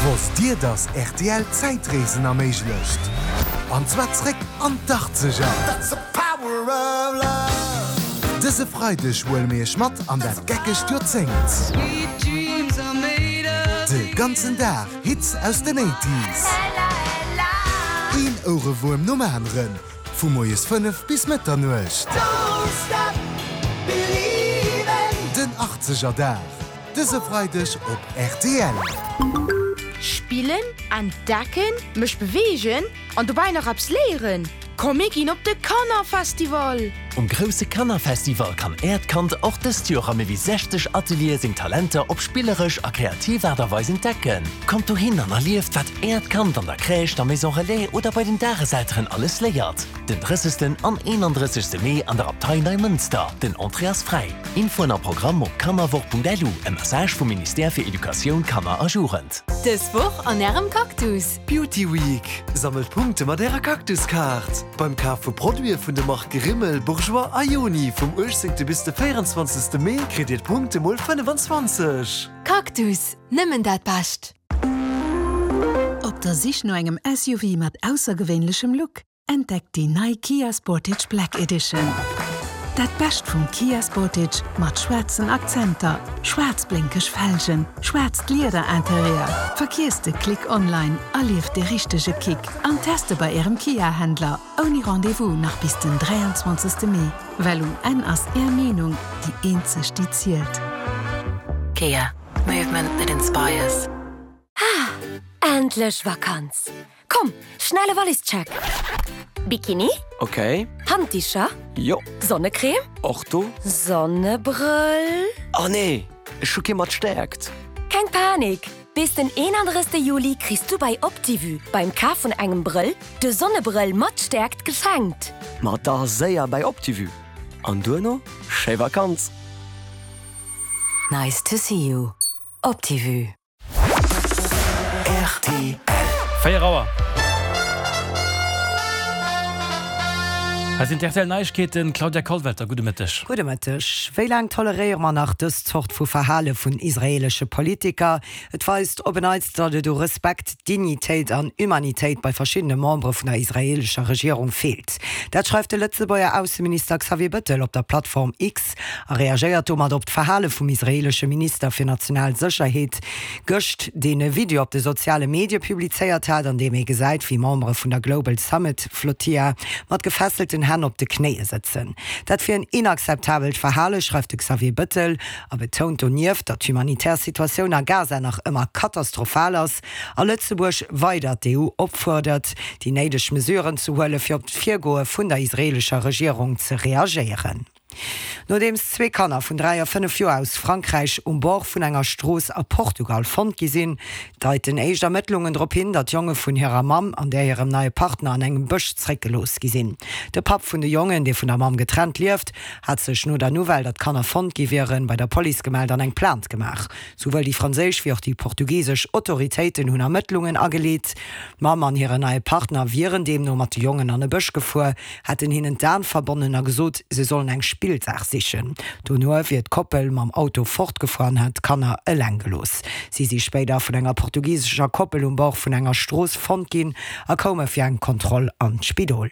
Wosst Dir, dass rtl Zäitreesen erméiglecht? An zwar zréck an d'Achtzeger! Dëse Freideg huele mir Iech mat an dat geckegt Joerzéngt. De ganzen Dag Hits aus den Eighties. Een Ouerewuerm nom aneren, vu moies 5 bis Mëtternuecht. Den Achtzegerdag. Dëse Freideg op rtl. Spillen, entdecken, mech beweegen an dobäi nach eppes léieren? Komm mir ginn op de Kannerfestival! Um grousse Kannerfestival kann Äert Kand och dëst Joer a méi wéi 60 Ateliere seng Talenter op spilleresch a kreativ Aart a Weis entdecken. Kommt dohin an erlieft, wat Äert Kand an der Crèche, der Maison Relais oder bei den Dageselteren alles léiert. Den 30. an 31. Mee an der Abtei Neimënster. Den Entrée ass fräi. Infoen a Programm op kannerwoch.lu, e Message vum Ministère fir Educatioun, Kanner a Jugend. Dës Woch an Ärem Cactus! Beauty Week! Sammelt Punkte mat Ärer Cactus-Kaart! Beim Kaf vu Produite vun de Marke Rimmel, Bourjois a Yoni vum 18. bis de 24. Mee kritt Dir d'Punkte mol 25! Cactus, nëmmen dat Bescht! Op der Sich no engem SUV mat aussergewéinlechem Look? Entdeckt déi nei Kia Sportage Black Edition. Dat Bescht vum Kia Sportage mat schwaarzen Akzenter, schwaarz blénkeg Felgen, schwaarzt Lieder-Interieur. Verkiesst de Klick online, erlieft de richtege Kick an teste bei Ärem Kia-Händler ouni Rendez-vous nach bis den 23 Mee, well um Enn ass Är Meenung déi eenzeg déi zielt. Kia, movement that inspires. Ah, endlech Vakanz! Komm, schnelle Wallischeck! Bikini? Ok. Handdicher? Jo. Sonnecreme? Och do. Sonnebrëll? Oh nee, ech hu kee mat Stäerkt. Keng Panik! Bis den 31. Juli kriss du bei Optivue beim Kaf vun engem Brëll de Sonnebrëll mat Stäerkt geschenkt! Ma da séier bei Optivue an duerno schéi Vakanz! Nice to see you. Optivue. Rtl. 4 Auer. Hei sinn d'RTL Neiegkeeten, Claudia Kollwelter, gudde Mëtteg. Gudde Mëtteg. Wéi laang toleréiere mer nach dës Zort vu Verhale vun israeelesche Politiker? Et weist op en Neits, datt et u Respekt, Dignitéit an Humanitéit bei verschiddene Membere vun der israeelescher Regierung feelt. Dat schreift de Lëtzebuerger Ausseminister Xavier Bëttel op der Plattform X. A reagéiert domat op d'Verhale vum israeelesche Minister fir national Sécherheet gëscht, deen e Video op de soziale Medie publizéiert hat, an deem ee gesäit, wéi Membere vun der Global Summit Flotilla mat gefesselten Hänn op de Knéie sëtzen. Dat wier en inakzeptabelt Verhale, schreift de Xavier Bëttel a betount donieft, datt d'humanitär Situatioun a Gaza nach ëmmer katastrophal ass a Lëtzebuerg weider d'EU opfuerdert, déi néideg Mesuren ze huelen, fir op d'Virgoe vun der israeelescher Regierung ze reagéieren. Nodeems zwee Kanner vun 3 a 5 Joer aus Frankräich um Bord vun enger Strooss a Portugal fonnt gi sinn, deiten éischt Ermëttlungen drop hin, datt d'Jonge vun hirer Mamm an där hirem neie Partner an engem Bësch zréckgelooss gi sinn. De Papp vun de Jongen, dee vun der Mamm getrennt lieft, hat sech no der Nouvelle, datt d'Kanner fonnt gi wieren, bei der Police gemellt an eng Plainte gemaach. Souwuel déi franséisch wéi och déi portugisesch Autoritéiten hunn Ermëttlungen ageleet. D'Mamm an hiren neie Partner wieren deemno mat de Jongen an e Bësch gefuer, hätten hinnen d'Aen verbonnen a gesot, se sollen eng Spillsaach sichen. Dono wier d'Koppel mam Auto fortgefuer an hätt d'Kanner eleng gelooss. Si si spéider vun enger portugisescher Koppel um Bord vun enger Strooss fonnt ginn a koume fir eng Kontroll an d'Spidol.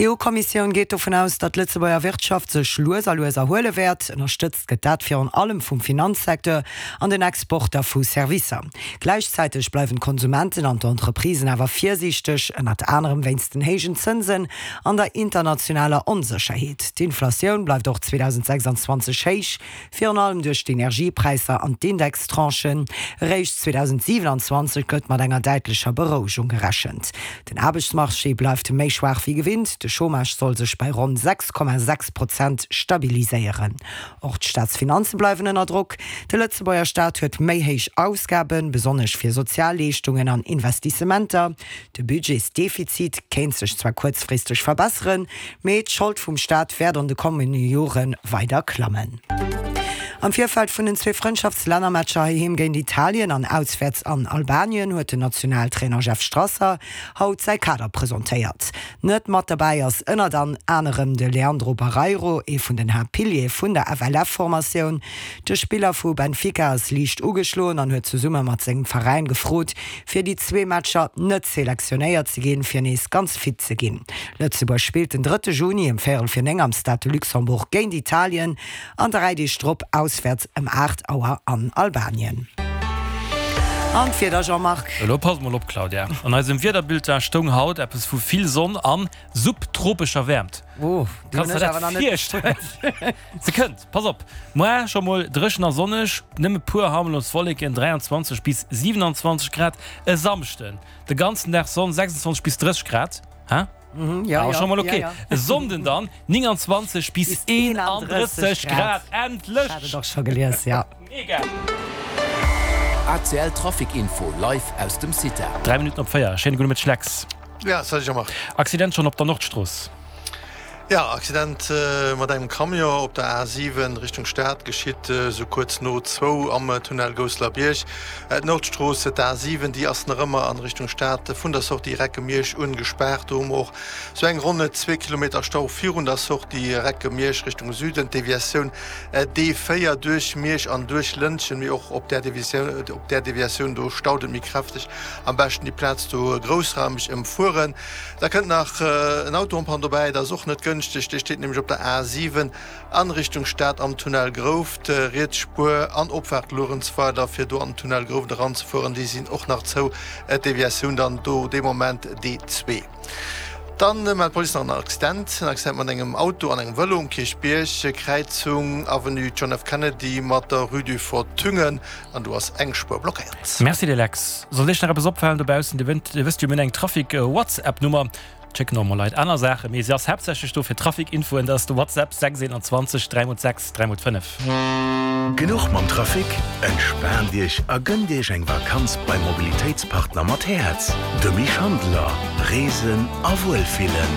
D'EU-Kommissioun geet dovun aus, datt d'Lëtzebuerger Wirtschaft sech lues a lues erhuele wäert. Ënnerstëtzt gëtt dat virun allem vum Finanzsecteur an den Exporter vu Servicer. Gläichzäiteg bleiwen d'Konsumenten an d'Entreprisen awer virsiichteg, ënnert anerem wéinst den héijen Zënsen an der internationaler Onsécherheet. D'Inflatioun bleift och 2026 héich, virun allem duerch d'Energiepräisser an d'Indextranchen. Eréischt 2027 gëtt mat enger däitlecher Berouegung gerechent. Den Aarbechtsmarché bleift méi schwaach wéi gewinnt, de Chômage soll sech bei ronn 6,6 Prozent stabiliséieren. Och d'Staatsfinanze bleiwen ënner Drock. De Lëtzebuerger Staat huet méi héich Ausgaben, besonnesch fir Sozialleeschtungen an Investissementer. De Budgetsdefizit kéint sech zwar kuerzfristeg verbesseren, mee d'Schold vum Staat wäert an de kommende Jore weider klammen. Am Virfeld vun den zwee Frëndschaftslännermatcher heiheem géint Italien an auswäerts an Albanien huet den Nationaltrainer Jeff Strasser haut säi Kader presentéiert. Net mat derbäi ass ënnert an anerem de Leandro Barreiro, ee vun den Haaptpiliere vun der FLF-Formatioun. De Spiller vu Benfica ass liicht ugeschloen an huet zesumme mat sengem Veräin gefrot, fir déi zwee Matcher net selektionéiert ze ginn, fir nees ganz fit ze ginn. Lëtzebuerg spillt den drëtte Juni ëm véierel vir 9 am Stade de Luxembourg géint Italien an 3 Deeg drop auswäerts ëm 8 Auer an Albanien. An d'Wieder, Jean-Marc? Elo pass mol op, Claudia, An eisem Wiederbulletin stoung haut eppes vu vill Sonn an subtropescher Wäermt. Oh, déi Kanns hunn der ech awer dat nach net virstellen? Se kënnt, pass op, Moar scho mol dréchen a sonneg, nëmme puer harmlos Wolleken, 23 bis 27 Grad. E Samschden de ganzen Dag Sonn, 26 bis 30 Grad. Hä? Ja, Awer ja, scho mol ja, ok. ja. E Sonnden dann 29 bis 31 Grad. Endlech! Hat et och scho gelies, ja. Mega! ACL Trafic Info live aus dem CITA. 3 Minutten op 4. Schéine gudde Mëtteg Lex. Ja, salut Jean-Marc. Accident schonn op der Nordstrooss. Ja, Accident mat engem Camion op der A7 Richtung Stad geschitt esou kuerz no zwou am Tunnel Gousselerbierg. D'Nordstrooss, d'A7, déi ass nach ëmmer an Richtung Stad vun der Sortie Recke-Miersch un gespaart. Do hu mer och sou eng ronn zwee Kilometer Stau virun der Sortie Recke-Miersch Richtung Süden. D'Deviatioun D4 duerch Miersch an duerch Lëntgen, mee och op där Deviatioun do staut et méi kräfteg. Am beschten déi Plaz do groussraumeg ëmfueren. Da kënnt nach en Auto en panne dobäi, dat ass och net gënschteg. Dee steet nämlech op der A 7 an Richtung Stad am Tunnel Grouft. Riets Spuer an Opfaart Luerenzweiler fir do an den Tunnel Grouft eranzefueren, déi sinn och nach zou. D'Deviatioun dann do dee Moment D2. Dann mellt d'Police nach en Accident, en Accident mat engem Auto an engem Vëlo um Kierchbierg, Kräizung Avenue John F. Kennedy mat der Rue du Fort Thüngen. An do ass eng Spuer blockéiert. Merci dir Lex. Sollt iech nach eppes opfalen dobaussen, dir wësst jo mir hunn eng Trafic Whatsapp Nummer, schécken och mol Leit aner Saachen, mee se ass haaptsächlech do fir Trafic Infoen, dat ass de Whatsapp 6 21 3 x 6 3 x 5. Genuch mam Trafic? Entspaant Iech a gënnt Iech eng Vakanz beim Mobilitéitspartner mat Häerz, dem Misch Handeler. Reesen a Wuelfillen.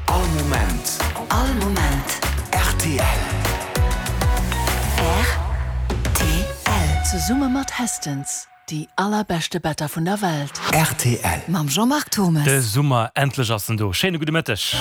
All Moment. All Moment. Rtl. Rtl. Zesumme mat Hästens, déi allerbeschte Better vun der Welt. Rtl. Mam Jean-Marc Thommes. De Summer, endlech ass en do. Schéine gudde Mëtteg.